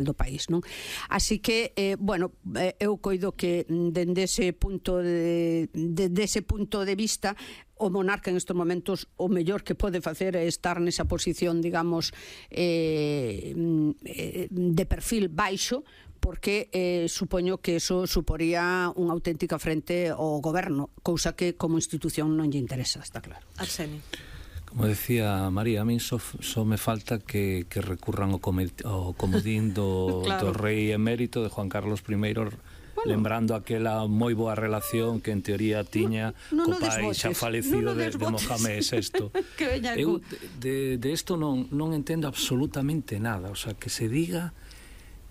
do país, non? Así que, bueno, eu coido que dende ese punto de vista o monarca en estes momentos o mellor que pode facer é estar nesa posición, digamos, de perfil baixo, porque supoño que eso suporía unha auténtica frente ao goberno, cousa que como institución non lle interesa, está claro. Arsenio. Como decía María, a mí só me falta que recurran ao comodín do rei emérito de Juan Carlos I, lembrando aquela moi boa relación que en teoría tiña co pai xa falecido de Mohamed VI. Eu de isto non entendo absolutamente nada, o sea, que se diga,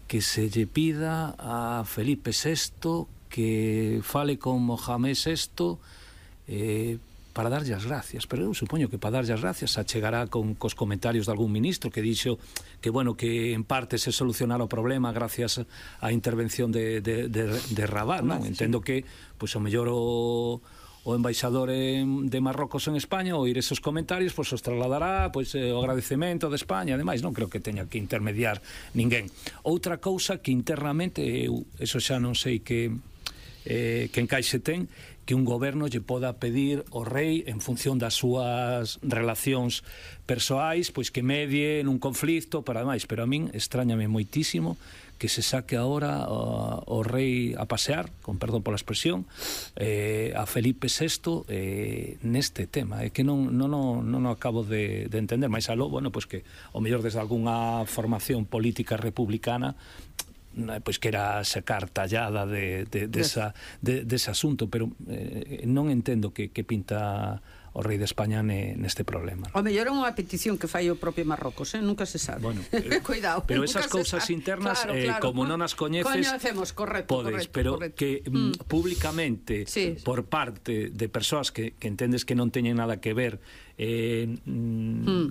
que se lle pida a Felipe VI que fale con Mohamed VI para darlle as gracias, pero eu supoño que para darlle as gracias achegará cos comentarios de algún ministro que dixo que, bueno, que en parte se solucionara o problema gracias á intervención de Rabat, non? Entendo que, pois, o mellor o embaixador de Marrocos en España, ao oír esos comentarios, pois os trasladará, pois, o agradecemento de España, ademais, non creo que teña que intermediar ninguén. Outra cousa que internamente, eso xa non sei que encaixe ten, que un goberno lle poda pedir ao rei en función das súas relacións persoais, pois que medie nun conflicto para demais, pero a min extrañame moitísimo que se saque agora o rei a pasear, con perdón pola expresión, a Felipe VI neste tema, é que non acabo de entender, máis aló, bueno, pois que o mellor desde algunha formación política republicana pois que era sacar tallada dese asunto, pero non entendo que pinta o rei de España neste problema. O mellor é unha petición que fai o propio Marrocos, nunca se sabe. Bueno, cuidado. Pero esas cousas internas, claro, como non as coñeces, podes, pero que públicamente, por parte de persoas que entendes que non teñen nada que ver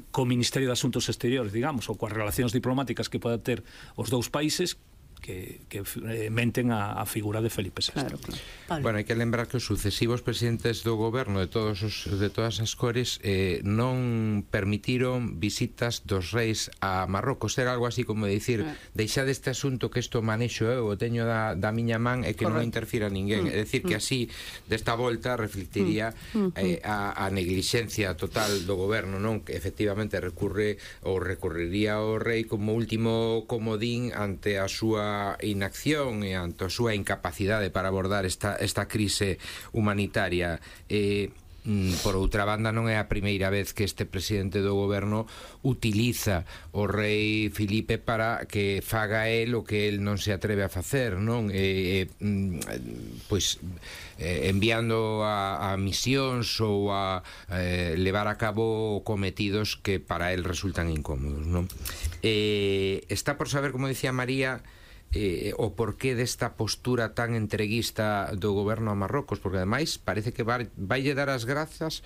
co Ministerio de Asuntos Exteriores, digamos, ou coas relacións diplomáticas que poden ter os dous países, que menten a figura de Felipe VI. Claro. Bueno, hai que lembrar que os sucesivos presidentes do goberno de todas as cores non permitiron visitas dos reis a Marrocos. Era algo así como dicir, deixade este asunto que isto manexo eu, o teño da miña man e que non interfira ninguén. É dicir, que así desta volta reflectiría a neglixencia total do goberno, non? Que efectivamente recurriría ao rei como último comodín ante a súa inacción e ante a súa incapacidade para abordar esta crise humanitaria. Por outra banda, non é a primeira vez que este presidente do goberno utiliza o rei Filipe para que faga el o que el non se atreve a facer, non? Pois enviando a misións ou a levar a cabo cometidos que para el resultan incómodos, non? Está por saber, como dicía María, o porqué desta postura tan entreguista do goberno a Marrocos, porque ademais parece que vaille dar as grazas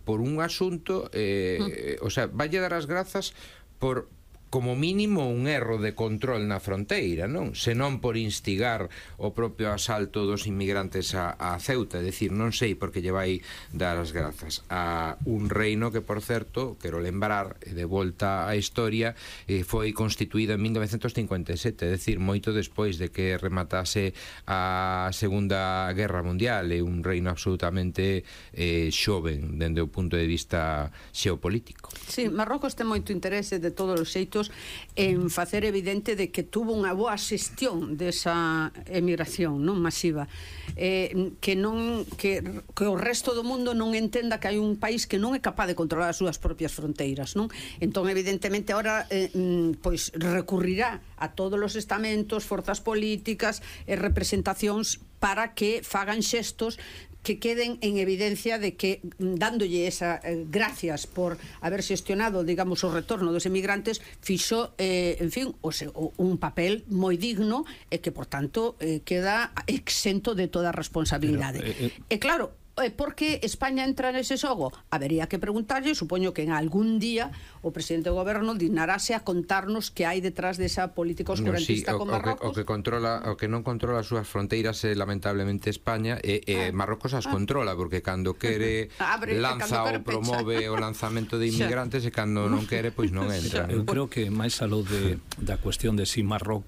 por un asunto, o sea, vaille dar as grazas por como mínimo un erro de control na fronteira, non? Senón por instigar o propio asalto dos inmigrantes a Ceuta, é dicir, non sei por que lle vai dar as grazas a un reino que, por certo, quero lembrar, de volta á historia, foi constituído en 1957, é dicir, moito despois de que rematase a Segunda Guerra Mundial, é un reino absolutamente xoven dende o punto de vista xeopolítico. Sí, Marrocos ten moito interese de todos os xeitos en facer evidente de que tuvo unha boa xestión desa emigración non masiva, que o resto do mundo non entenda que hai un país que non é capaz de controlar as súas propias fronteiras, non? Entón, evidentemente, ahora pois recurrirá a todos os estamentos, forzas políticas e representacións para que fagan xestos que queden en evidencia de que, dándolle esa gracias por haber xestionado, digamos, o retorno dos emigrantes, fixo, en fin, un papel moi digno e que, por tanto, queda exento de toda responsabilidade. E claro, por que España entra nese xogo? Habería que preguntarlle, supoño que en algún día o presidente do goberno dignarase a contarnos que hai detrás desa política oscurantista con Marrocos. O que non controla as súas fronteiras é lamentablemente España, e Marrocos as controla, porque cando quere lanza ou promove o lanzamento de inmigrantes, e cando non quere, pois non entra. Eu creo que máis aló da cuestión de si Marrocos